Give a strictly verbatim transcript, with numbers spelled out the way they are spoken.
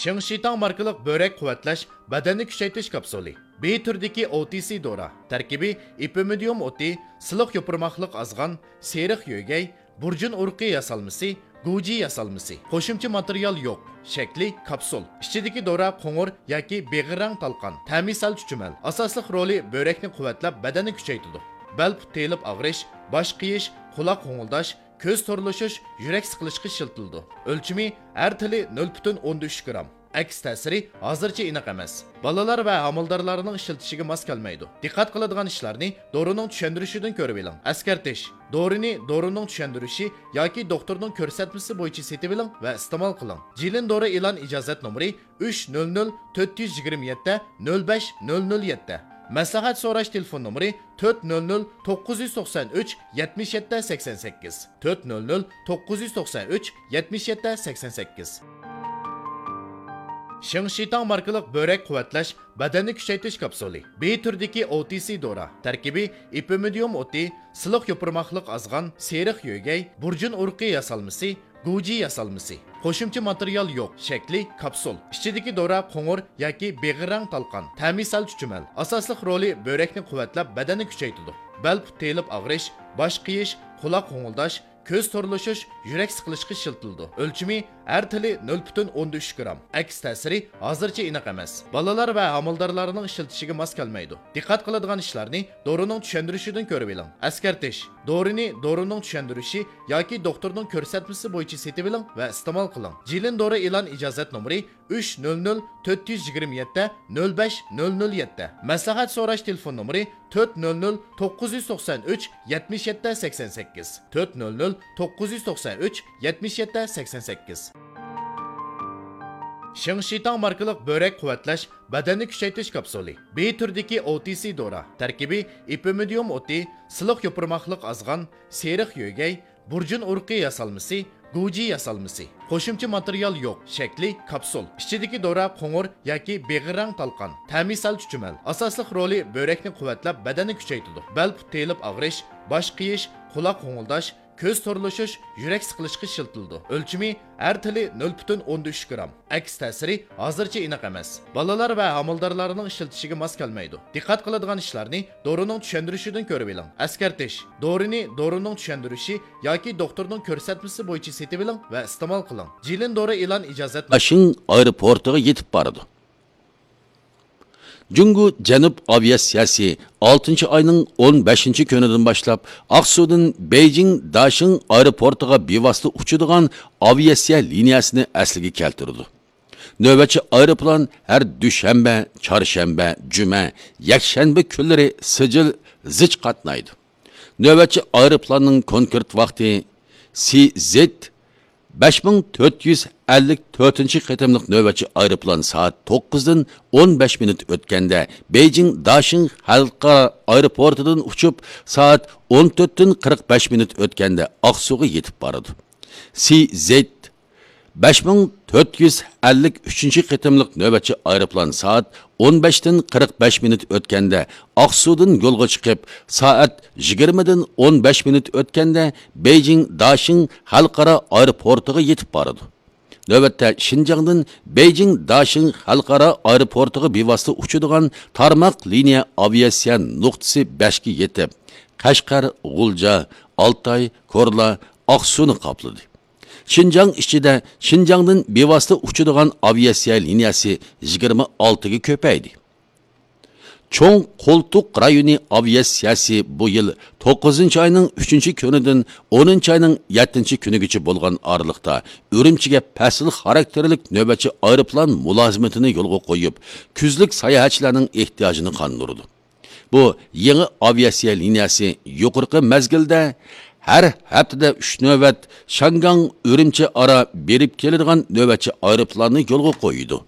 شىڭشىتاڭ ماركىلىق بۆرەك قۇۋۋەتلەش، بەدەننى كۈچەيتىش كاپسۇلى. بى تۈرىدىكى ئو تى سى دورا. تەركىبى ئېپىمىدىيۇم ئوتى، سىلىق يوپۇرماقلىق ئازغان، سېرىق يۆگەي، بۇرجۇن ئۇرۇقى ياسالمىسى، گۇجى ياسالمىسى. قوشۇمچە ماتېرىيال يوق. شەكلى كاپسۇل. ئىچىدىكى دورا قوڭۇر ياكى بېغىر رەڭ تالقان. تەمى سەل چۈچۈمەل. ئاساسلىق رولى بۆرەكنى قۇۋۋەتلەپ، بەدەننى كۈچەيتىدۇ. بەل پۇت تېيىلىپ ئاغرىش، باش قېيىش، قۇلاق غوڭۇلداش، كۆز تورلىشىش، يۈرەك سىقىلىشقا ئىشلىتىلىدۇ. ئۆلچىمى ھەر تېلى نۆل پۈتۈن ئوندىن ئۈچ گرام. ئەكس تەسىرى ھازىرچە ئېنىق ئەمەس. بالىلار ۋە ھامىلىدارلارنىڭ ئىشلىتىشىگە ماس كەلمەيدۇ. دىققەت قىلىدىغان ئىشلارنى دورىنىڭ چۈشەندۈرۈشىدىن كۆرۈۋېلىڭ. ئەسكەرتىش: دورىنى دورىنىڭ چۈشەندۈرۈشى ياكى دوختۇرنىڭ كۆرسەتمىسى بويىچە سېتىۋېلىڭ ۋە ئىستېمال قىلىڭ. جىلىن دورا ئېلان ئىجازەت نومۇرى ئۈچ نۆل نۆل تۆت يۈز يىگىرمە يەتتە نۆل بەش نۆل نۆل يەتتە. مەسلىھەت سوراش تېلېفون نومۇرى تۆت نۆل نۆل توققۇز يۈز توقسان ئۈچ يەتمىش يەتتە سەكسەن سەككىز، تۆت نۆل نۆل توققۇز يۈز توقسان ئۈچ يەتمىش يەتتە سەكسەن سەككىز. شىڭشىتاڭ ماركىلىق بۆرەك قۇۋۋەتلەش، بەدەننى كۈچەيتىش كاپسۇلى. بى تۈرىدىكى ئو تى سى دورا. تەركىبى ئېپىمىدىيۇم ئوتى، سىلىق يوپۇرماقلىق ئازغان، سېرىق يۆگەي، بۇرجۇن ئۇرۇقى ياسالمىسى، گۇجى ياسالمىسى. قوشۇمچە ماتېرىيال يوق. شەكلى كاپسۇل. ئىچىدىكى دورا قوڭۇر ياكى بېغىر رەڭ تالقان. تەمى سەل چۈچۈمەل. ئاساسلىق رولى بۆرەكنى قۇۋۋەتلەپ، بەدەننى كۈچەيتىدۇ. بەل پۇت تېيىلىپ ئاغرىش، باش قېيىش، قۇلاق غوڭۇلداش، كۆز تورلىشىش، يۈرەك سىقىلىشقا ئىشلىتىلىدۇ. ئۆلچىمى ھەر تېلى نۆل پۈتۈن ئوندىن ئۈچ گرام. ئەكس تەسىرى ھازىرچە ئېنىق ئەمەس. بالىلار ۋە ھامىلىدارلارنىڭ ئىشلىتىشىگە ماس كەلمەيدۇ. دىققەت قىلىدىغان ئىشلارنى دورىنىڭ چۈشەندۈرۈشىدىن كۆرۈۋېلىڭ. ئەسكەرتىش: دورىنى دورىنىڭ چۈشەندۈرۈشى ياكى دوختۇرنىڭ كۆرسەتمىسى بويىچە سېتىۋېلىڭ ۋە ئىستېمال قىلىڭ. جىلىن دورا ئېلان ئىجازەت نومۇرى ئۈچ نۆل نۆل تۆت يۈز يىگىرمە يەتتە نۆل بەش نۆل نۆل يەتتە. مەسلىھەت سوراش تېلېفون نومۇرى تۆت نۆل نۆل توققۇز يۈز توقسان ئۈچ يەتمىش يەتتە سەكسەن سەككىز، تۆت نۆل نۆل توققۇز يۈز توقسان ئۈچ يەتمىش يەتتە سەكسەن سەككىز. شىڭشىتاڭ ماركىلىق بۆرەك قۇۋۋەتلەش، بەدەننى كۈچەيتىش كاپسۇلى. بى تۈرىدىكى ئو تى سى دورا. تەركىبى ئېپىمىدىيۇم ئوتى، سىلىق يوپۇرماقلىق ئازغان، سېرىق يۆگەي، بۇرجۇن ئۇرۇقى ياسالمىسى، گۇجى ياسالمىسى. قوشۇمچە ماتېرىيال يوق. شەكلى كاپسۇل. ئىچىدىكى دورا قوڭۇر ياكى بېغىر رەڭ تالقان. تەمى سەل چۈچۈمەل. ئاساسلىق رولى بۆرەكنى قۇۋۋەتلەپ، بەدەننى كۈچەيتىدۇ. بەل پۇت تېيىلىپ ئاغرىش، باش قېيىش، قۇلاق غوڭۇلداش، كۆز تورلىشىش، يۈرەك سىقىلىشقا ئىشلىتىلىدۇ. ئۆلچىمى ھەر تېلى نۆل پۈتۈن ئوندىن ئۈچ گرام. ئەكس تەسىرى ھازىرچە ئېنىق ئەمەس. بالىلار ۋە ھامىلىدارلارنىڭ ئىشلىتىشىگە ماس كەلمەيدۇ. دىققەت قىلىدىغان ئىشلارنى دورىنىڭ چۈشەندۈرۈشىدىن كۆرۈۋېلىڭ. ئەسكەرتىش: دورىنى دورىنىڭ چۈشەندۈرۈشى ياكى دوختۇرنىڭ كۆرسەتمىسى بويىچە سېتىۋېلىڭ ۋە ئىستېمال قىلىڭ. جىلىن دورا ئېلان ئىجازەت بېيجىڭ ئايروپورتىغا يېتىپ بارىدۇ. جۇڭگو جەنۇب ئاۋىئاتسىيەسى ئالتىنچى ئاينىڭ ئون بەشىنچى كۈنىدىن باشلاپ ئاقسۇدىن بېيجىڭ داشىڭ ئايروپورتىغا بىۋاسىتە ئۇچىدىغان ئاۋىئاتسىيە لىنىيەسىنى ئەسلىگە كەلتۈرىدۇ. نۆۋەتچى ئايروپىلان ھەر دۈشەنبە، چارشەنبە، جۈمە، يەكشەنبە كۈنلىرى سىجىل زىچ قاتنايدۇ. نۆۋەتچى ئايروپىلاننىڭ كونكرېت ۋاقتى سى زېد بەش مىڭ تۆت يۈز ئەللىك تۆتىنچى قېتىملىق نۆۋەتچى ئايروپىلان سائەت توققۇزدىن ئون بەش مىنۇت ئۆتكەندە بېيجىڭ داشىڭ خەلقئارا ئايروپورتىدىن ئۇچۇپ، سائەت ئون تۆتتىن قىرىق بەش مىنۇت ئۆتكەندە ئاقسۇغا يېتىپ بارىدۇ. سى زېد بەش مىڭ تۆت يۈز ئەللىك ئۈچىنچى قېتىملىق نۆۋەتچى ئايروپىلان سائەت ئون بەشتىن قىرىق بەش مىنۇت ئۆتكەندە ئاقسۇدىن يولغا چىقىپ، سائەت يىگىرمىدىن ئون بەش مىنۇت ئۆتكەندە بېيجىڭ داشىڭ خەلقئارا ئايروپورتىغا يېتىپ بارىدۇ. نۆۋەتتە شىنجاڭدىن بېيجىڭ داشىڭ خەلقئارا ئايروپورتىغا بىۋاسىتە ئۇچىدىغان تارماق لىنىيە ئاۋىئاتسىيە نۇقتىسى بەشكە يېتىپ، قەشقەر، غۇلجا، ئالتاي، كورلا، ئاقسۇنى قاپلىدى. شىنجاڭ ئىچىدە شىنجاڭدىن بىۋاسىتە ئۇچىدىغان ئاۋىئاتسىيە لىنىيەسى يىگىرمە ئالتىگە كۆپەيدى. چوڭ قولتۇق رايونى ئاۋىئاتسىيەسى بۇ يىل توققۇزىنچى ئاينىڭ ئۈچىنچى كۈنىدىن ئونىنچى ئاينىڭ يەتتىنچى كۈنىگىچە بولغان ئارىلىقتا ئۈرۈمچىگە پەسىل خاراكتېرلىك نۆۋەتچى ئايروپىلان مۇلازىمىتىنى يولغا قويۇپ، كۈزلۈك ساياھەتچىلەرنىڭ ئېھتىياجىنى قاندۇرىدۇ. بۇ يېڭى ئاۋىئاتسىيە لىنىيەسى يۇقىرىقى مەزگىلدە ھەر ھەپتىدە ئۈچ نۆۋەت شياڭگاڭ ئۈرۈمچى ئارا بېرىپ كېلىدىغان نۆۋەتچى ئايروپىلاننى يولغا قويىدۇ.